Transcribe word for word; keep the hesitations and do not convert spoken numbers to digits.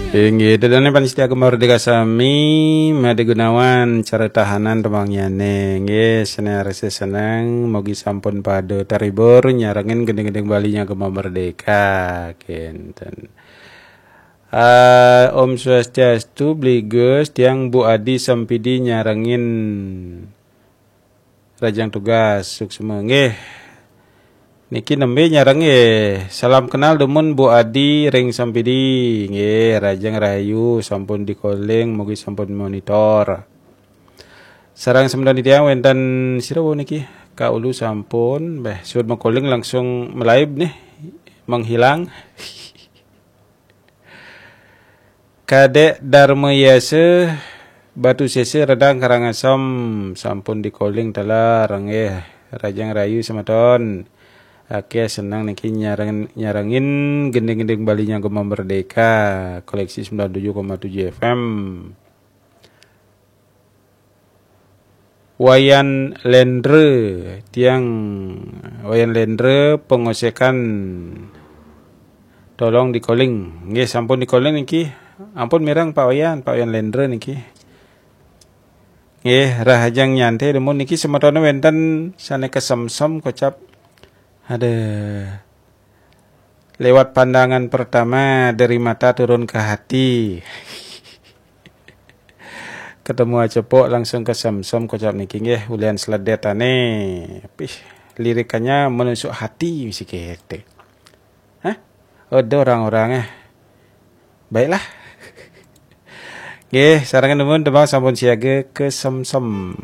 Inggih, ida dané pamiarsa Gema Merdeka sami, Madé Gunawan, cara tahanan tembangnyané. Inggih, sané arsa seneng, mugi sampun pada terhibur, nyarengin gending-gending Bali nya Gema Merdeka. Kénten. Ah, Om Swastiastu, Bli Gus, tiang Bu Adi Sampidi nyarengin rajang tugas, suksma. Nggih. Niki nembé nyarengin. Salam kenal dumun Bu Adi ring Sampidi. Nggih, rajang rahayu, sampun di-calling, mugi sampun monitor. Sareng semeton titiang wénten sira wau niki? Ka Ulu sampun, béh, suud ma-calling langsung melaib nih, menghilang. Kadék Darma Yasa, Batu Sese, Redang, Karangasem, sampun di-calling taler, nggih. Rajang rahayu semeton. Akéh seneng niki nyareng-, nyarengin gending-gending Bali nya Gema Merdeka, koleksi sembilan tujuh koma tujuh F M. Wayan Lendra, tiang Wayan Lendra, Pengosekan, tolong di-calling. Nggih, sampun di-calling niki. Ampun mireng Pak Wayan, Pak Wayan Lendra niki. Nggih, rahajeng nyantai dumun niki, semetoné wénten sané kesemsem kocap. Ada lewat pandangan pertama, dari mata turun ke hati. Ketemu acepok langsung kesemsem kocap niki, nggih, ulian sledetané. Pih, lirikannya menusuk hati, mesti kéto. Hah? Ada orang-orang, eh. Baiklah. Nggih, sareng dumun tembang sampun siaga, kesemsem.